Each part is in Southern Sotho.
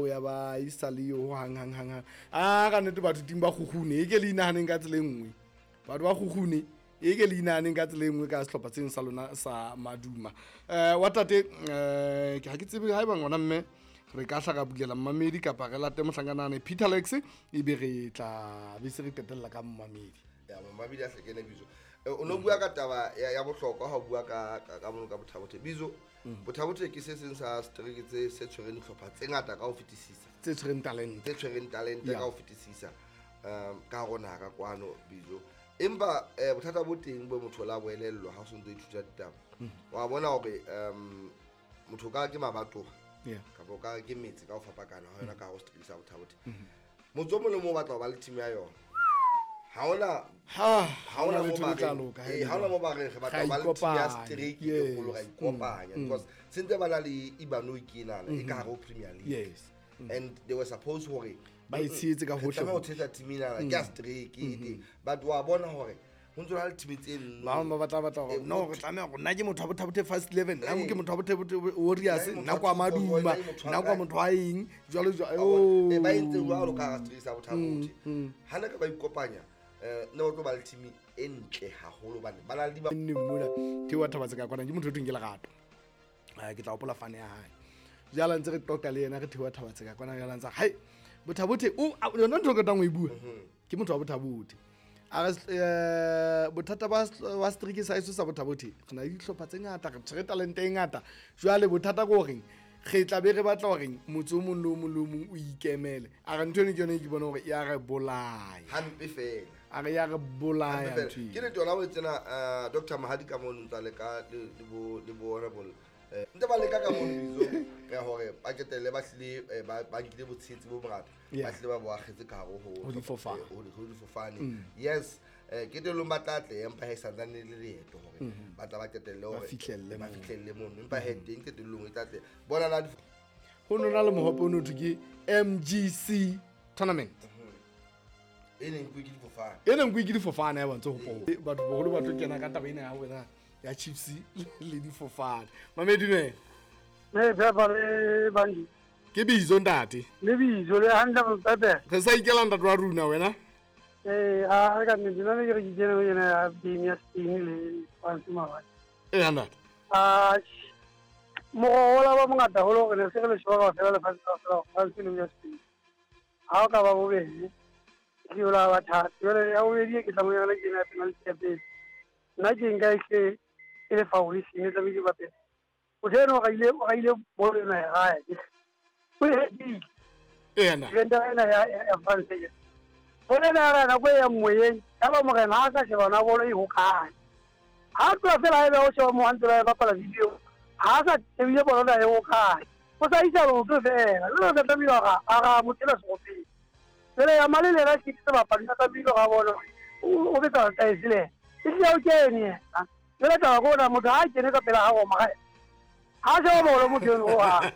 eo ya ba e sa le yo hang hang hang hang. A ka nnete batho ting ba kgukgune e ke le inahaneng ka tsela e nngwe. Batho ba kgukgune e ke le inahaneng ka tsela e nngwe ka sehlopha seno sa lona sa Maduma. Wa tate ke ha ke tsebe haeba ngwana mme re ka hla ra bulela mmamedi kapa re late mohlankanane Peter Lex e be re tla be se re qetella ka mmamedi. Ya mmamedi a hlekene bitso. O no bua ka taba ya bohlokwa ha o bua ka mono ka Bothabothe. Bitso Bothabothe ke se seng sa setereke tse se tshwereng dihlopha tse ngata ka ho fetisisa. Tse tshwereng talente. Tse tshwereng talente ka ho fetisisa. Ka hare ho naha ka kwano bitso. Empa bothata bo teng bo motho la boelellwa ha o sontso ithuta ditaba. Wa bona hore motho ka ke mabatowa. Kapa ka ke metse ka ho fapakana ha yona ka ho setereke sa Bothabothe. Motse o mong le mong o batla ho ba le team ya yona. Ha hona mo ba reng re batla ho ba le team ya setereke e kgolo ra ikopanya because sentse ba na le Ibano ke enana e ka hare ho Premier League. Yes. And they were supposed hore ba e tshehetse ka hohle. Tlameha ho tshehetsa team enana ke ya setereke e teng. But wa bona hore ho ntso na le team tse nno. Ba bang ba batla hore no re tlameha hore nna ke motho wa Bothabothe First 11, nna ke motho wa Bothabothe Warriors, nna kwa Maduma, nna kwa motho wa eng, jwalo jwalo. Ba entse jwalo ka hara setereke sa Bothabothe. Ha ne ka ba ikopanya ne ba tlo ba le team e ntle haholo hobane ba na le di nne mona Theo Thabatse ka kwana ke motho o thweng ke Lerato. Ke tla hopola fane ya hae. Jwale ntse re qoqa le yena re Theo Thabatse ka kwana jwale ntse hai Bothabothe o yona ntho e qetang ho e bua. Ke motho wa Bothabothe. A re bothata ba setereke sa heso sa Bothabothe re na le dihlopha tse ngata, re tshwere talente e ngata. Jwale bothata ke horeng re tla be re batla hore motse o mong le o mong le o mong o ikemele. A re ntho eno ke yona e ke bona hore ya re bolaya. Hampe fela. A re ya re bolaya ntho eno. Ke nnete yona o e tsena Dr. Mahadi ka mono ntse a leka le bo honorable ntse ba leka ka mono bitso ya hore ba qetelle ba hlile ba nkile botshehetsi bo bongata, ba hlile ba bo akgetse ka hare ho difofane. Ho difofane. Yes, qetellong ba tla tle empa ha e santsane le leeto hore ba tla ba qetelle hore ba fihlelle mono, empa he teng qetellong e tla tle. Bona la ho nona le mohope o no thwe ke MGC tournament. E neng ke difofane. E neng ke difofane ya bontse ho po. Batho boholo ba tlo kena ka taba ena ya wena ya Chiefs le difofane. Mamedi ne. Ne Pepe le Bandi. Ke bitso ntate. Le bitso le hantle Pepe. Re sa ikela ntate wa rona wena. A ka nnete nna ke re ke kene ho yena ya game ya Spain le France maobane. Ntate. Moroho la ba mongata haholo hore ne se re le sheba kaofela lefatshe kaofela France le ya Spain. Ha o ka ba bobedi, ke yo la ba thata. Jwale ya bobedi ke tla mo yona ke ena ya penalty ya pele. Nna ke nka e hle e le foul e seng e tlamehile ba pele. Motho eno o raile bolo ena ya hae. O e hetile. Ena. Defender ena ya France e. Bolo ena ya nako e yang moyeng, ya ba morena ha a sa sheba na bolo e hokae. Ha tloha fela ha ebe o sheba mo hantle ba e bapala video, ha a sa shebile bolo ena e hokae. O sa isa leoto fela. Jwale o tla tlamehile a ra motho enwa seropeng. Jwale ya male le yena ke sebapadi, o tlamehile hore a bone hore o betsa letaese le yena. E hlile o kene yena. Jwale taba ke hore motho ha a kene ka pela ha Roma, ha sheba bolo motho eno ho hang.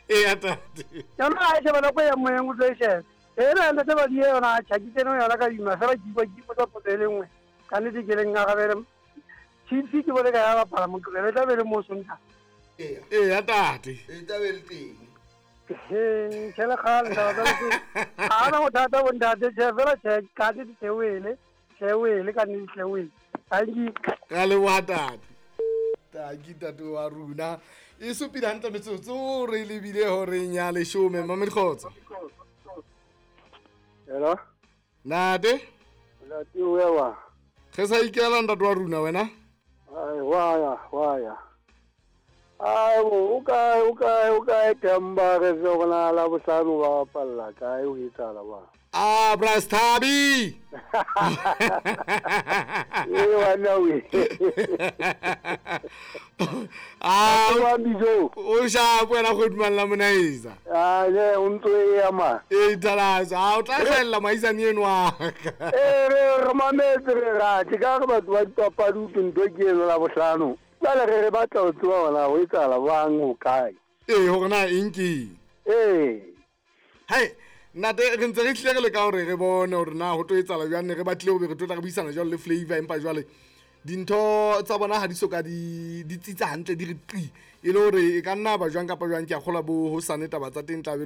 Ntate. Yona ha e sheba nako e yang moyeng o tlo e sheba. Ena ntate ba di yona a tjha ke kene ho yona ka ima fela ke ikwa ke ipotsa potso e le nngwe. Ka nnete ke leng arabele. Chiefs ke bone ka ya bapala Moqebelo, e tla be le mo Sontaha. Ntate. E tla be le teng. Tjhe le kgale taba tsa Lesotho. Ha hona bothata bo ntate, tjhe fela tjhe, ka nnete tjhe wele, tjhe wele, ka nnete tjhe wele. Tanki. Ra leboha ntate. Tanki ntate wa rona. E supile hantle metsotso re lebile horeng ya leshome. Mamedi kgotso. Hello. Ntate. Ntate o ya wa. Re sa ikela ntate wa rona wena? Ai wa ya. Ai o kae Themba re se gona la bohlano ba bapalla kae o etsahala ba? Brastabi. Wena we. Wa bijo. O sha wena go dumella monaisa. Le o ntlo e ya ma. E thalasa, o tla hlella maisane eno wa ka. Re mametse re rate ka re batho ba dipapadi ke ntho ke eno la bohlano. Jwale re batla ho tseba hore ho etsahala jwang ho kae. Hore na eng ke. Hai, ntate re ntse re hlile re leka hore re bone hore na ho tlo etsahala jwang, ne re batlile ho be re tlo tla re buisana jwalo le Flavor, empa jwale dintho tsa bona ha di soka di tsitsa hantle di re qi e le hore e ka nna ba jwang kapa jwang. Ke a kgolwa bo hosane taba tsa teng tla be